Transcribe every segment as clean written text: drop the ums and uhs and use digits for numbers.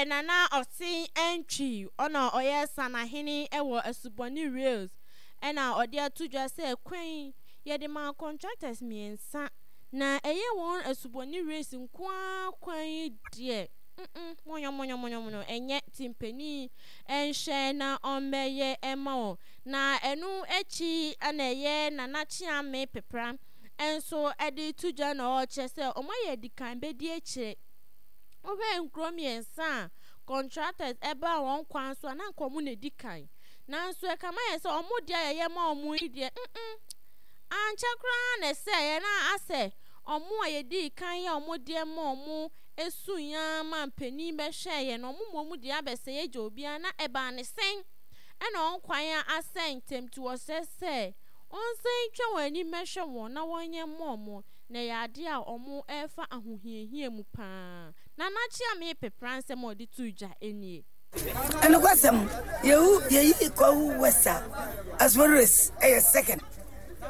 Ɛyɛ Nana Ɔsen Antwi, ɔna ɔyɛ Sanahene wɔ Asubɔne Rails ɛna ɔde ato dwa sɛ kwan yi yɛde maa contractors mmiɛnsa na ɛyɛ wɔn Asubɔne Rails nko ara kwan yi deɛ mm mɔnyɔmɔnyɔmɔnyɔmɔnyɔ ɛnyɛ nti mpanin nhwɛ na ɔmmɛyɛ mma wɔn. Na ɛno akyi na ɛyɛ Nana Kyeame Pepra nso de to dwa na ɔrekyerɛ sɛ wɔayɛ adikan bɛdi akyire. Wohwɛ nkuro mmiɛnsa a contractors baa wɔn kwan so a na anka wɔn na ɛdi kan. Nanso ɛkama yɛ sɛ wɔn deɛ a yɛyɛ ma wɔn yi deɛ mm ankyɛ koraa na ɛsɛeɛ na asɛ wɔn a yɛdii kan yɛ wɔn deɛ ma wɔn suiɛ ara ma mpanin bɛhwɛeɛ no wɔn mmom deɛ abɛsɛe agya obiara na ɛbaa ne sɛn ɛna wɔn kwan asɛe ntɛm nti wɔsrɛ sɛ wɔnsan ntwa wɔn ani mmɛhwɛ wɔn na wɔnyɛ mma wɔn na ɛyɛ adeɛ a wɔrefa ahohiahia mu pa ara. Nana Kyeame Pepra nsɛm a ɔde too dwa nie. Nokwasɛm, yehu yeyi Kwawu West a, Asubɔnten Race yɛ second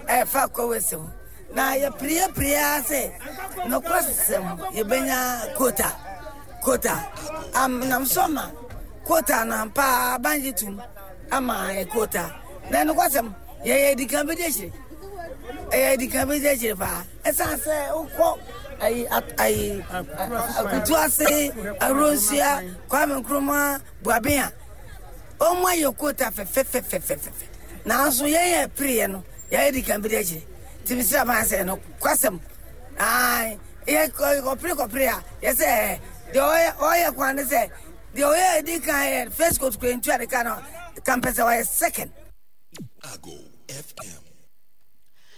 ɛfa Kwawu West ho. Na yɛpere yɛpere ara sɛ nokwasɛm yɛbɛnya quota quota am nam so ama quota no ampa ara aban gye tom ama yɛ quota. Na nokwasɛm yɛyɛ adikan bɛdi akyire ɛyɛ adikan bɛdi akyire paa ɛsan sɛ wokɔ ayi ayi akutu ase awuronsua Kwame Nkrumah Buaben a wɔn ayɛ kota fɛfɛfɛfɛfɛ nanso yɛn yɛ pereɛ no yɛayɛ adikan bɛdi akyire nti mesrɛ aban sɛ no kwasɛm yɛ kɔpere kɔpere a yɛsɛ deɛ ɔyɛ ɔyɛ kwan ne sɛ deɛ ɔyɛ adi kan yɛ first coat kura ntua de ka no kampɛ sɛ ɔyɛ second. Ago FM.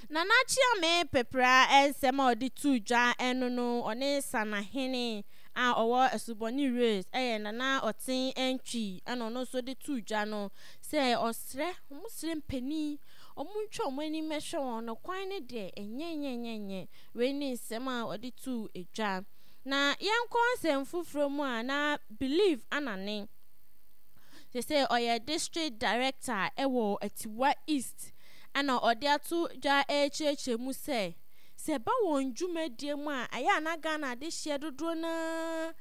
Nana Kyeame Pepra nsɛm a ɔde too dwa no no, ɔne Sanahene a ɔwɔ Asubɔne Rails yɛ Nana Ɔten Antwi ɛna ɔno nso de too dwa no sɛ ɔsrɛ, wɔn srɛ mpanin, wɔn ntwa wɔn ani mmɛhwɛ wɔn no kwan no deɛ ɛnyɛ nyɛ nyɛ nyɛ. Wei ne nsɛm a ɔde too dwa. Na yɛnkɔ nsɛm foforɔ mu a na Believe Anane. Seesei ɔyɛ District Director wɔ Atiwa East ɛna ɔde ato dwa rekyerɛkyerɛ mu sɛ, sɛ ɛba wɔn dwumadie mu a, ɛyɛ a na Ghana adehyeɛ dodoɔ no ara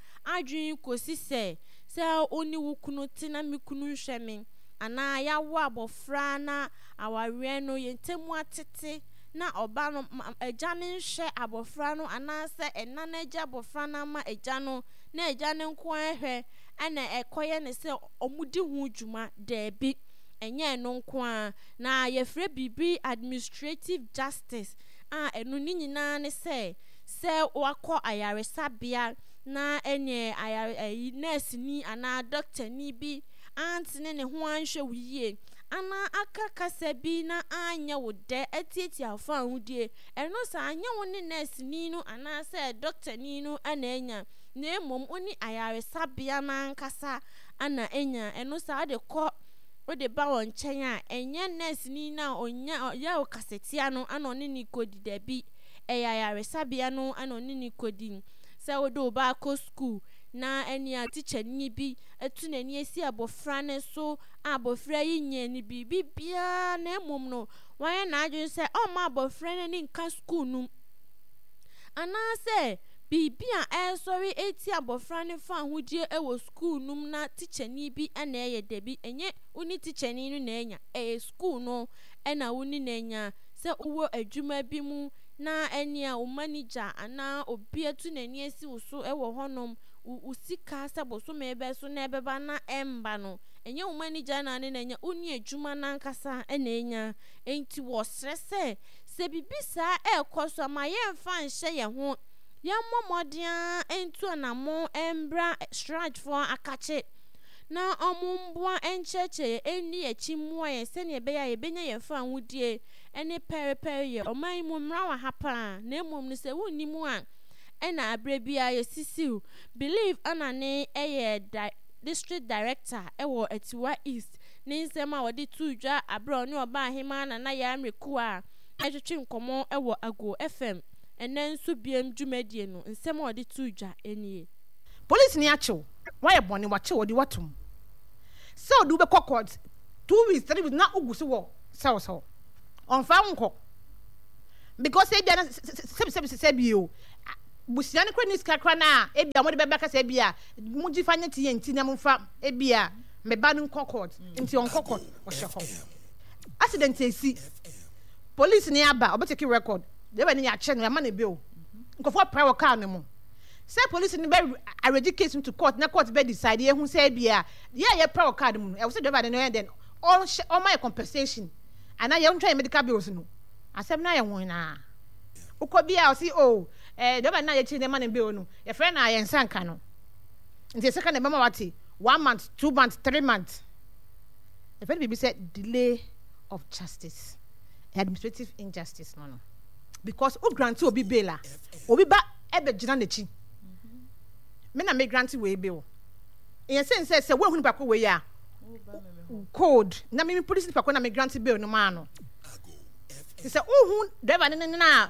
adwene kɔsi sɛ, sɛ wo ne wo kunu te na me kunu nhwɛ me, anaa yɛawo abɔfra na awareɛ no yɛn ntam atete na ɔba no agya no nhwɛ abɔfra no anaasɛ ɛna no agya abɔfra no ama agya no na agya no nko ara hwɛ ɛna ɛkɔyɛ ne sɛ wɔdi ho dwuma. Daabi, ɛnyɛ ɛno nko ara. Na yɛfrɛ biribi administrative justice a ɛno ne nyinaa ne sɛ, sɛ wakɔ ayaresabea na ɛneɛ ayare ɛyi nɛɛseni anaa dɔktani bi antene ne ho anhwɛ wo yie anaa aka kasa bi na anyɛ wo dɛ atiatia wo fawohodie, ɛno saa nyɛ wo ne nɛɛseni no anaasɛ dɔktani no na anya. na mmom wo ne ayaresabea no ankasa na anya. Ɛno saa wode kɔ wode ba wɔn nkyɛn a, ɛnyɛ nɛɛseni no a ɔnya ɔyɛ wo kasatia no na ɔne no kɔdi, dabi, ɛyɛ ayaresabea no na ɔne no kɔdi. Sɛ wode wo ba akɔ sukuu na ɛnea tikyani bi atu n'ani asi abɔfra no so a abɔfra yi nyɛɛ no biribi biara na mmom no wayɛ n'adwene sɛ ɔmma abɔfra no ani nka sukuu no mu anaasɛ biribi a ɛresɔre atia abɔfra no fawohodie wɔ sukuu no mu na tikyani bi na ɛyɛ, dabi, ɛnyɛ wo ne tikyani no na anya, ɛyɛ sukuu no na wo ne no anya. Sɛ wowɔ adwuma bi mu na ɛnea wo manigya anaa obi atu n'ani asi wo so wɔ hɔnom, wo wo sika sɛ bosome bɛso na ɛbɛba na ɛmba no, ɛnyɛ wo manigya na ne no anya, wo ne adwuma no ankasa na anya. Enti wɔsrɛ sɛ, sɛ biribi saa rekɔ so a, ma yɛmfa nhyɛ yɛn ho. Yɛmmɔ mmɔden ara ntu anammɔn mbra Shrajfoɔ akakye na wɔmmoa nkyerɛkyerɛ yɛn, nni yɛn akyi mmoa yɛn sɛdeɛ ɛbɛyɛ a yɛbɛnya yɛn fawohodie ne pɛrepɛreyɛ. Ɔman yi mu mmara wɔ ha pa ara, na mmom no sɛ wonni mu a, ɛna aberɛ biara yɛsisiw. Believe Anane yɛ District Director wɔ Atiwa East. Ne nsɛm a ɔde too dwa aberɛ a ɔne Ɔbaahemaa Nana Yaa Mrekua retwetwe nkɔmmɔ wɔ Ago FM. Ɛnnɛ nso biam dwumadie no, nsɛm a ɔde too dwa nie. Polisini akye wo, woayɛ bɔne, wakye wo, ɔde wo atom sɛ ɔde wo bɛkɔ court 2 weeks, 3 weeks na wogu so wɔ cells hɔ. Ɔmfa wo nkɔ because ebia na sɛbi sɛbi sɛbi o. Busua no kora ni sika kora no a ebia wɔde bɛba kasa ebia mo gye fa nyɛ TNT na mo fa ebia me ba no nkɔ court nti ɔnkɔ court ɔhyɛ hɔ. Accident esi police ni aba ɔbɛ take record driver ni yɛakyɛ no yɛama no bail nkurɔfoɔ apra wɔ car no mu sɛ police ni bɛ arrange case no to court na court bɛ decide yɛhu sɛ ebia yɛ a yɛpra wɔ car no mu no ɛwɔ sɛ driver no yɛ dɛn ɔnhyɛ ɔma yɛ compensation anaa yɛntwa yɛ medical bills no asɛm no ayɛ wɔn naa. Wokɔ bi a ɔse oh eh driver no a yɛkyere no ma no bail no yɛfrɛ no a yɛn nsa nka no nti yɛsɛ ka na ɛbɛma wate one month, 2 months, 3 months. Yɛfrɛ no biribi sɛ delay of justice, administrative injustice no because wo grant obi bail a obi ba ɛbɛgyina n'akyi me na me grant wei bail yɛn sɛ sɛ woahu nipa ko wei a code na me police nipa ko na me grant bail no maa no. Te sɛ wohu driver no ne na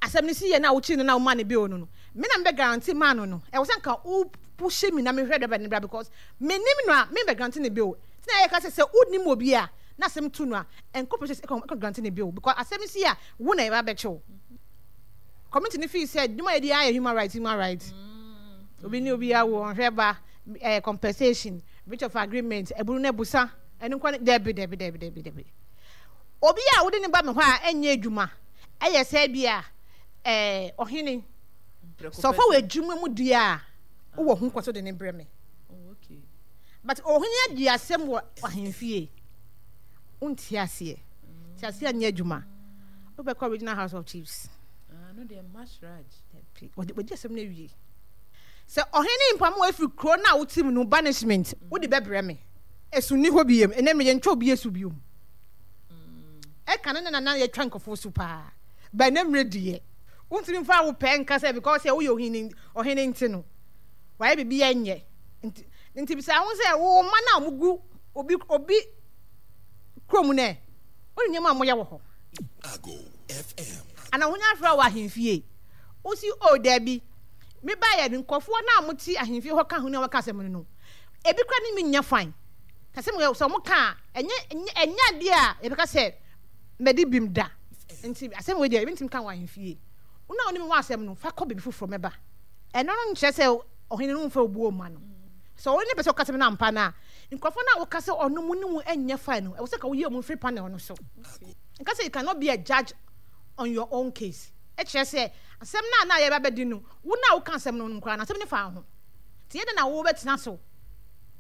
asɛm no si yɛ na wokyiri no na woma no bail no no, me na mebɛ guarantee maa no no, ɛwɔ sɛ nka wo push me na mehwɛ driver no bra because menim no a membɛ guarantee no bail. Nti na yɛka sɛ sɛ wonim obi a na asɛm to no a, ɛnkɔ police station ɛkɔ guarantee no bail because asɛm no si a wo na yɛba bɛkye wo. Community no feel sɛ dwuma yɛdi ayɛ human rights, human rights. Obi ne obi awo ɔnhwɛ ba, eh, compensation, breach of agreement, ɛbunu no abusa, ɛno nkwa ne, dɛbi dɛbi dɛbi dɛbi dɛbi. Obi a wode no ba me hɔ a ɛnyɛ adwuma yɛ sɛ ebia ɛɛ ɔhene. Sɛ ɔfa wɔ adwuma mu deɛ a, wowɔ ho kwan sɛ wode no brɛ me. But ɔhene adi asɛm wɔ ahemfie. Wonte aseɛ. Te aseɛ nyɛ adwuma. Wobɛkɔ Regional House of Chiefs. Ah, no deɛ Mashraj. Wɔdi asɛm no awie. Sɛ ɔhene mpam wo afiri kuro no a wote mu no, banishment, wode bɛbrɛ me. Esu nni hɔ biom. Ɛnɛ mmerɛ yɛntwa obi asu biom. Ɛka no na na yɛtwa nkurɔfoɔ su paa. But ɛnɛ mmerɛ deɛ, wontumi mfa wo pɛ nka sɛ because sɛ woyɛ ohene ɔhene nti no, wayɛ biribi a ɛnyɛ. Nti nti bisa ho sɛ wo mma no a wɔgu obi obi kurom no ɛ, wonim nneɛma a wɔyɛ wɔ hɔ? Ago FM. Ana wonya afrɛ wɔ ahemfie? Wosi o daabi. Mebaeɛ no nkurɔfoɔ no a wɔte ahemfie hɔ ka ho ne a wɔka asɛm no no, ebi koraa ne me nnya fine. Ka sɛ sɛ wɔn ka a, ɛnyɛ ɛnyɛ adeɛ a yɛbɛka sɛ mɛdi bim da. Nti asɛm wei deɛ yɛbɛntumi ka wɔ ahemfie. Wo na wo ne me wɔ asɛm no, fa kɔ baabi foforɔ mɛba. Ɛno no nkyerɛ sɛ ɔhene no mfa obuo mma no. Sɛ ɔno ne pɛ sɛ ɔka asɛm no ampa no a, nkurɔfoɔ no a woka sɛ ɔno mo ne wo nyɛ fine no, ɛwɔ sɛ ka woyi wɔn firi panel no so. Nka sɛ you cannot be a judge on your own case. Ɛkyerɛ sɛ asɛm no a na yɛba bɛdi no, wo na woka asɛm no koraa no, asɛm no fa wo ho. Nti yɛ dɛn na wobɛtena so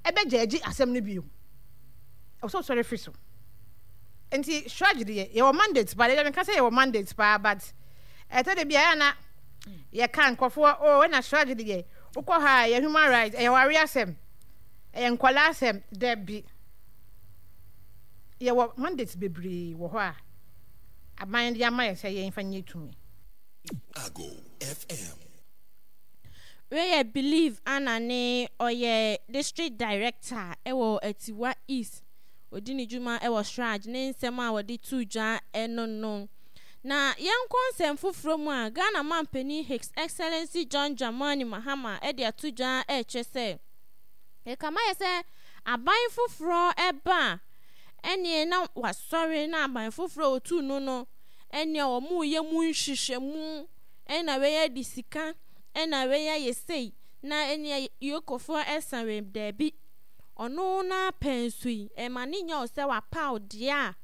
ɛbɛgyɛɛgye asɛm no bio? Ɛwɔ sɛ wosɔre firi so. Nti CHRAJ deɛ, yɛwɔ mandate paa, deɛ menka sɛ yɛwɔ mandate paa but ɛtɔ da bi a ɛyɛ a na yɛka nkurɔfoɔ, oh ɛna CHRAJ deɛ, wokɔ ha a ɛyɛ human rights, ɛyɛ ware asɛm, ɛyɛ nkwadaa asɛm, dabi. Yɛwɔ mandate bebree wɔ hɔ a aban de ama yɛn sɛ yɛmfa nyɛ tumi. Ago FM. Wei yɛ Believe Anna ne ɔyɛ District Director wɔ Atiwa East. Ɔdi ne dwuma wɔ Shraj ne nsɛm a wɔde too dwa no no. Na yɛnkɔ nsɛm foforɔ mu a, Ghana manpanin His Excellency John Dramani Mahama de ato dwa rekyerɛ sɛ, ɛkama yɛ sɛ aban foforɔ ba a, ɛneɛ na wasɔre na aban foforɔ a ɔtuu no no, ɛneɛ wɔreyɛ mu nhwehwɛmu ɛna wei adi sika, ɛna wei ayɛ sei, na ɛneɛ Yokofoɔ ɛsa wei, daabi. Ɔno n'apɛ nso yi, ɛma ne nyɛ wo sɛ wapaw deɛ a,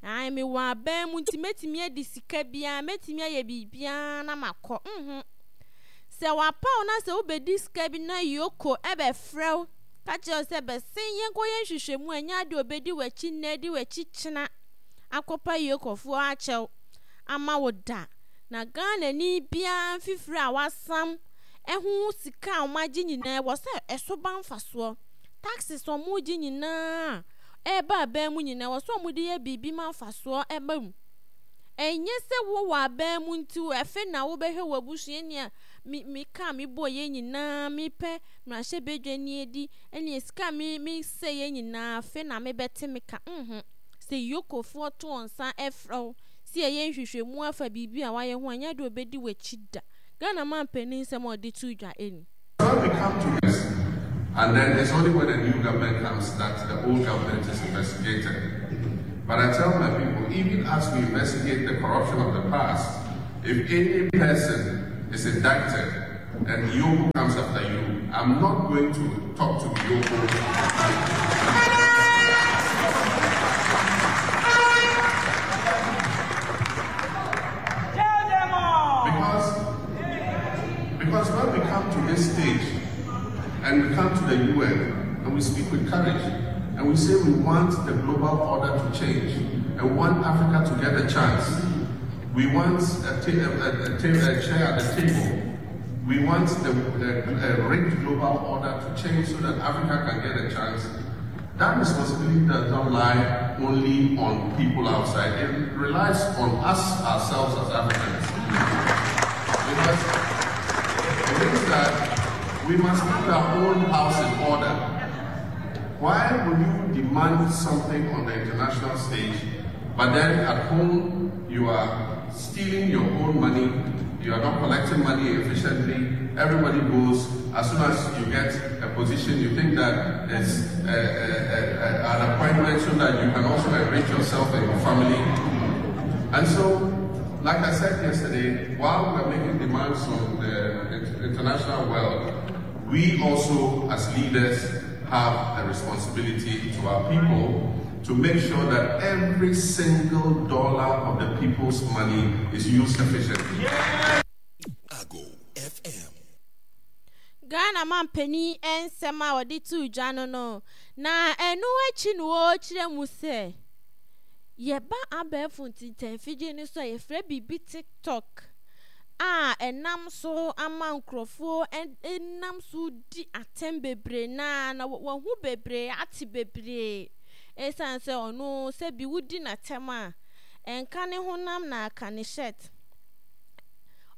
ae mewɔ aban mu nti mɛtumi adi sika biara, mɛtumi ayɛ biribiara na makɔ. Mhm. Sɛ wapaw na sɛ wobɛdi sika bi na Yoko ɛbɛfrɛ wo, ka kyerɛ wo sɛ bɛsen yɛnkɔyɛ nhwehwɛmu a, ɛnyɛ adeɛ ɔbɛdi w'akyi nnɛ, adi w'akyi kyena akɔpa Yokofoɔ akyɛw ama wo da. Na Ghanani biara mfifire a wasam ho sika a wɔagye nyinaa ɛwɔ sɛ ɛso ba mfasoɔ. Taxes a wɔregye nyinaa a ɛreba aban mu nyinaa ɛwɔ sɛ wɔde yɛ biribi ma mfasoɔ ɛba mu. Ɛnyɛ sɛ wowɔ aban mu nti ɛfe na wobɛhwɛ w'abusua nea me me ka mebɔ yɛ nyinaa mepɛ mmarahyɛbadwani adi ɛne sika me mesɛ yɛ nyinaa afe na mebɛte me ka. Mhm. Sɛ yokofoɔ to wɔn nsa ɛfrɛ wo sɛ yɛyɛ nhwehwɛmu afa biribi a wayɛ ho a, ɛnyɛ adeɛ a ɔbɛdi w'akyi da. Ghana manpanin nsɛm a ɔde too dwa ni. So we come to this, and then it's only when a new government comes that the old government is investigated. But I tell my people, even as we investigate the corruption of the past, if any person is indicted and EOCO comes after you, I'm not going to talk to EOCO. Because, because when we come to this stage and we come to the UN and we speak with courage and we say we want the global order to change and we want Africa to get a chance. We want a, a, a, a chair at the table. We want the, the rigged global order to change so that Africa can get a chance. That responsibility does not lie only on people outside. It relies on us ourselves as Africans. Because it means that we must put our own house in order. Why would you demand something on the international stage, but then at home you are stealing your own money, you are not collecting money efficiently, everybody goes, as soon as you get a position, you think that it's a, a, a, an appointment so that you can also enrich yourself and your family. And so, like I said yesterday, while we're making demands on the international world, we also, as leaders, have a responsibility to our people to make sure that every single dollar of the people's money is used efficiently. Yeah. Ago FM. Ghana manpanin nsɛm a ɔde too dwa no no, na ɛno akyi no ɔrekyerɛ mu sɛ yɛba abɛɛfo ntintanfidie no so a yɛfrɛ biribi TikTok a ɛnam so ama nkurɔfoɔ nam so di atɛm bebree na na wahu bebree ate bebree ɛsiane sɛ ɔno sɛ bi wodi n'atɛm a ɛnka ne honam na aka ne shirt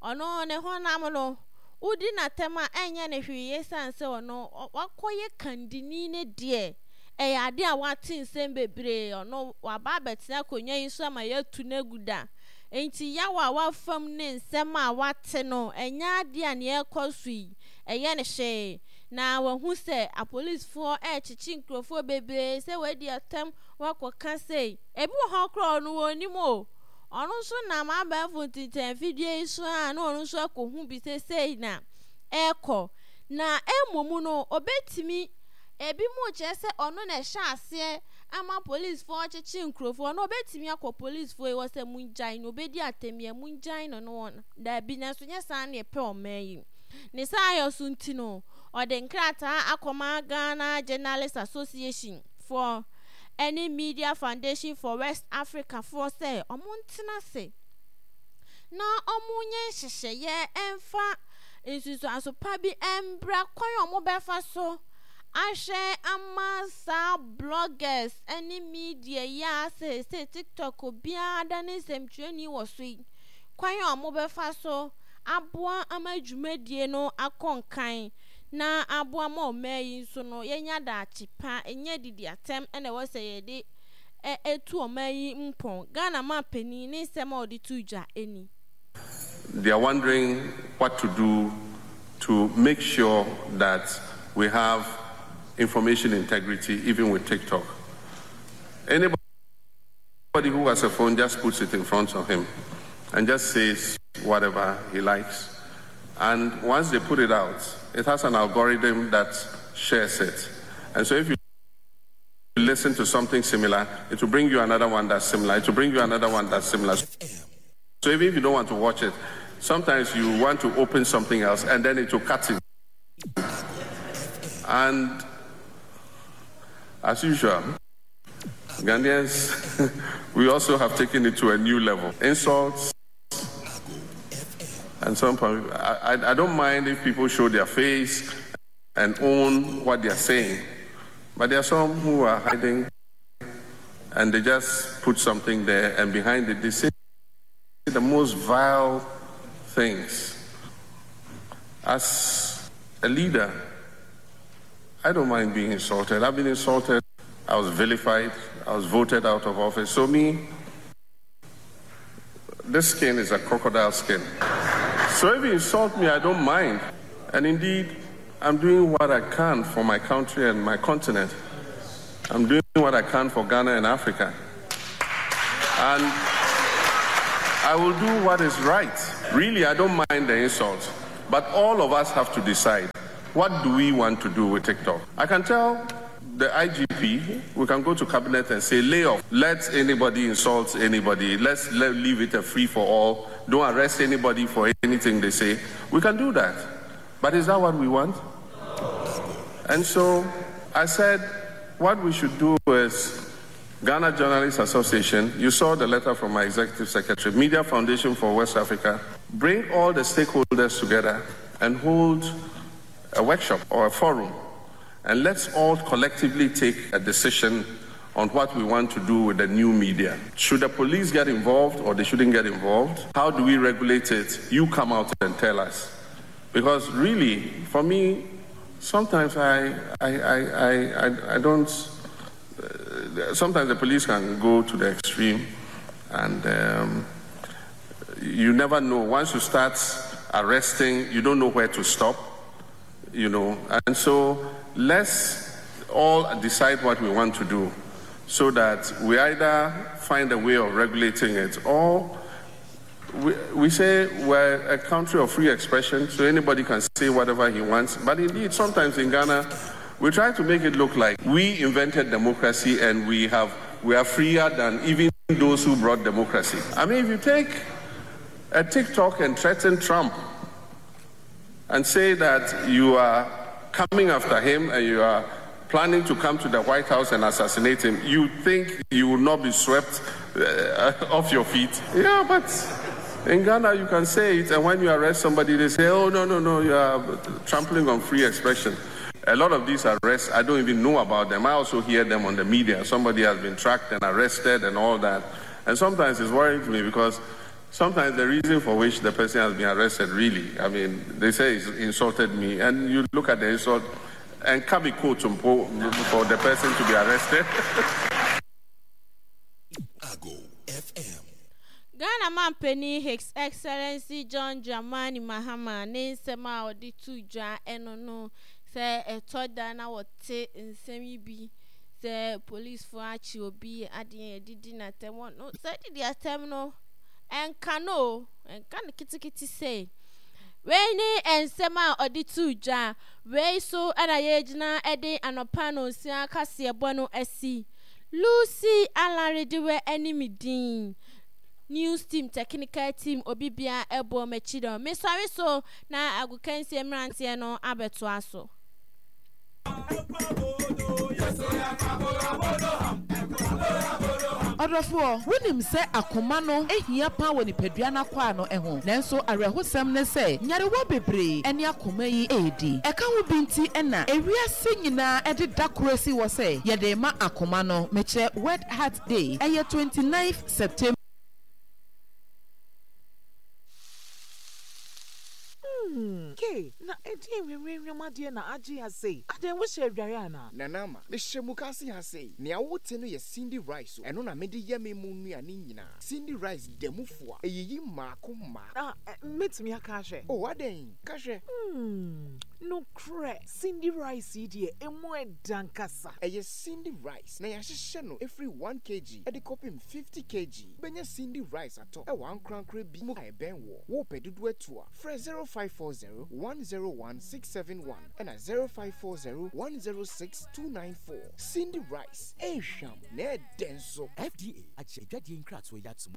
ɔno ne honam no wodi n'atɛm a ɛnyɛ ne hwee ɛsiane sɛ ɔno wakɔyɛ kandini ne deɛ ɛyɛ adeɛ a wate nsɛm bebree ɔno waba abɛtena akonnwa yi so ama yɛatu no agu da Enti yaw a wafa mu ne nsɛm a wate no, ɛnyɛ adeɛ a nea ɛrekɔ so yi, ɛyɛ no hwee. Na wahu sɛ apolisifoɔ rekyekye nkurɔfoɔ bebree sɛ wɔadi atɛm, wɔakɔka sei. Ebi wɔ hɔ koraa ɔno ɔnnim o. Ɔno nso nam abɛɛfo ntintanfidie yi so a na ɔno nso akɔhu bi sɛ sei na ɛrekɔ. Na mmom no, ɔbɛtumi, ebinom kyerɛ sɛ ɔno na ɛhyɛ aseɛ ama polisfoɔ kyekye nkurofoɔ no ɔbɛtumi akɔ polisfoɔ yi hɔ sɛ mongyae no ɔbɛdi atɛmmiɛ mongyae no no wɔn daabi nanso nyɛ saa na yɛpɛ ɔman yi ne saa yɛ so nti no ɔde nkrataa akɔma Ghana Journalist Association foɔ ɛne Media Foundation for West Africa foɔ sɛ ɔmo ntena ase na ɔmo nyɛ nhyehyɛeɛ ɛmfa nsusuanso pa bi ɛmbra kwan a ɔmo bɛfa so ahwɛ ama saa bloggers ne media yi a seesei TikTok obiara da ne nsɛmtwerɛni wɔ so yi, kwan a wɔbɛfa so aboa ama dwumadie no akɔ nkan na aboa ma ɔman yi nso no yɛnya daakye pa, ɛnyɛ adidi atɛm na ɛwɔ sɛ yɛde tu ɔman yi mpɔn. Ghana manpanin ne nsɛm a ɔde too dwa ni. They are wondering what to do to make sure that we have information integrity even with TikTok. Anybody who has a phone just puts it in front of him and just says whatever he likes. And once they put it out, it has an algorithm that shares it. And so if you listen to something similar, it will bring you another one that's similar. It will bring you another one that's similar. So even if you don't want to watch it, sometimes you want to open something else and then it will cut it. And as usual, Ghanaians, we also have taken it to a new level. Insults. And some I, I, I don't mind if people show their face and own what they are saying. But there are some who are hiding and they just put something there and behind it they say the most vile things. As a leader, I don't mind being insulted. I've been insulted. I was vilified. I was voted out of office. So, me, this skin is a crocodile skin. So, if you insult me, I don't mind. And indeed, I'm doing what I can for my country and my continent. I'm doing what I can for Ghana and Africa. And I will do what is right, Really, I don't mind the insult, but all of us have to decide what do we want to do with TikTok. I can tell the IGP, we can go to cabinet and say, lay off. Let anybody insult anybody. Let's let, leave it a free for all. Don't arrest anybody for anything they say. We can do that. But is that what we want? And so I said, what we should do is Ghana Journalists Association, you saw the letter from my executive secretary, Media Foundation for West Africa, bring all the stakeholders together and hold a workshop or a forum. And let's all collectively take a decision on what we want to do with the new media. Should the police get involved or they shouldn't get involved? How do we regulate it? You come out and tell us. Because really, for me, sometimes I, I, I, I, I, don't. Sometimes the police can go to the extreme, and you never know. Once you start arresting, you don't know where to stop, you know. And so let's all decide what we want to do so that we either find a way of regulating it or we, we say we're a country of free expression, so anybody can say whatever he wants. But indeed, sometimes in Ghana, we try to make it look like we invented democracy and we have we are freer than even those who brought democracy. I mean, if you take a TikTok and threaten Trump and say that you are coming after him and you are planning to come to the White House and assassinate him, you think you will not be swept off your feet? Yeah, but in Ghana you can say it, and when you arrest somebody, they say, oh, no, no, no, you are trampling on free expression. A lot of these arrests, I don't even know about them. I also hear them on the media. Somebody has been tracked and arrested and all that. And sometimes it's worrying to me because sometimes the reason for which the person has been arrested, really, I mean, they say he's insulted me. And you look at the insult and can be quote for the person to be arrested. Ago FM. Ghana manpanin His Excellency John Dramani Mahama ne nsɛm a ɔde too dwa ɛno no sɛ ɛtɔ da na wɔte nsɛm yi bi sɛ polisfoɔ akye obi adeɛ yɛde di n'atɛm no sɛ didi atɛm no ɛnka no o ɛnka no ketekete sei wei ne nsɛm a ɔde too dwa wei so ɛna yɛgyina de anɔpa no nsia kaseɛbɔ no asi Lucy Alarediwe ne me din. News team, technical team, obi biara ɛbɔ m'akyi dɔm. Mesɔre so na agokansie mmeranteɛ no abɛtoa so. Ɔdɔfoɔ, wonim sɛ akoma no hia paa wɔ nipadua no akwaa no ho. Nanso awerɛhosɛm ne sɛ, nyarewa bebree ne akoma yi redi. Ɛka ho bi nti na ewiase nyinaa de da koro asi hɔ sɛ yɛde rema akoma no, mekyerɛ World Heart Day. Ɛyɛ 29th September. Hmm, Kay, na ɛdeɛn nwenwenwem adeɛ na agye ha sei? Adɛn, wohyɛ adware anaa? Nana Ama, mehyɛ mukaase ha sei. Nea wote no yɛ Cindy rice o, ɛno na mede yɛ me mu nnuane nyinaa. Cindy rice da mu fua, ɛyiyi mmaako mmaako. Ah, mɛtumi aka ahwɛ? Oh, adɛn? Ka hwɛ. Hmm, nokorɛ, Cindy rice yi deɛ, ɛmu ɛdɛ ankasa. Ɛyɛ Cindy rice, na yɛahyehyɛ no ɛfiri one kg de kɔpem 50 kg. Wobɛnya Cindy rice atɔ wɔ ankorankorɛ bi mu a ɛbɛn woɔ. Wopɛ dodoɔ atu a, frɛ 0540 101 671 ɛna 0540 106 294. Cindy rice, ɛhwam na ɛdɛ nso. FDA agye adwadie nkratoɔ yi ato mu.